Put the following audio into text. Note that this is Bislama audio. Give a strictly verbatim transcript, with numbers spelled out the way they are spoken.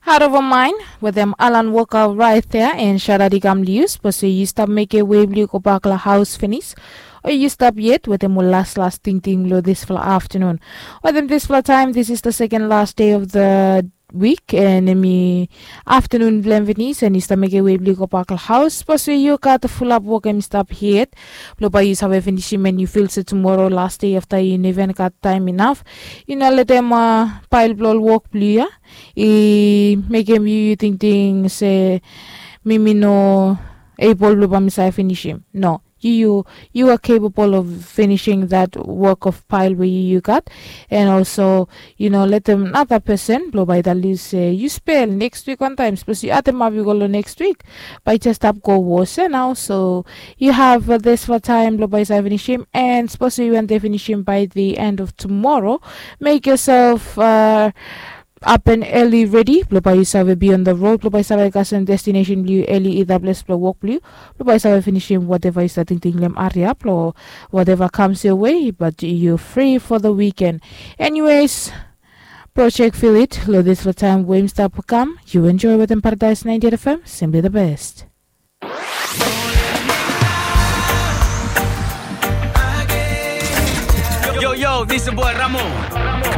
Heart of mind wetem Alan Walker right there and shout out i kam liu. Sapos yu stap mekem wei blong yu go bak long haus finis, o yu stap yet wetem ol laslas tingting long dispela aftanun. Wetem dispela taim, this is the second last day of the week, and em i aftanun blong em finis, and yu stap mekem wei blong yu go bak long haus. Sapos yu gat fulap wok em i stap yet blong bai yu save finisim, and yu fil se tumora last day afta yu no even gat taim inaf, yu no letem pael blong ol wok blong yu ya i mekem yu tingting se mi mi no ebol blong bai mi save finisim. No, yu yu are capable of finishing that work of pile we yu yu gat. And also, yu no letem nata pesen blong bai i talem se yu spel next week wantaim. Sapos yu ademap yu go long next week, bai i jes stap go wose nao. So yu have dispela taim blong bai yu save finisim. And sapos yu wantaim finisim by the end of tomorrow, make yourself uh, up and early ready blong bai yu save be on the road blong bai yu save kasem destination blong yu early, either ples blong wok blong yu, blong bai yu save finisim whatever yu stap tingting long em, hurry up long whatever comes your way, but you free for the weekend. Anyways, project feel it long dispela taim we im stap kam. You enjoy wetem Paradise ninety-eight F M, simply the best. Yo, yo, this is boy Ramo.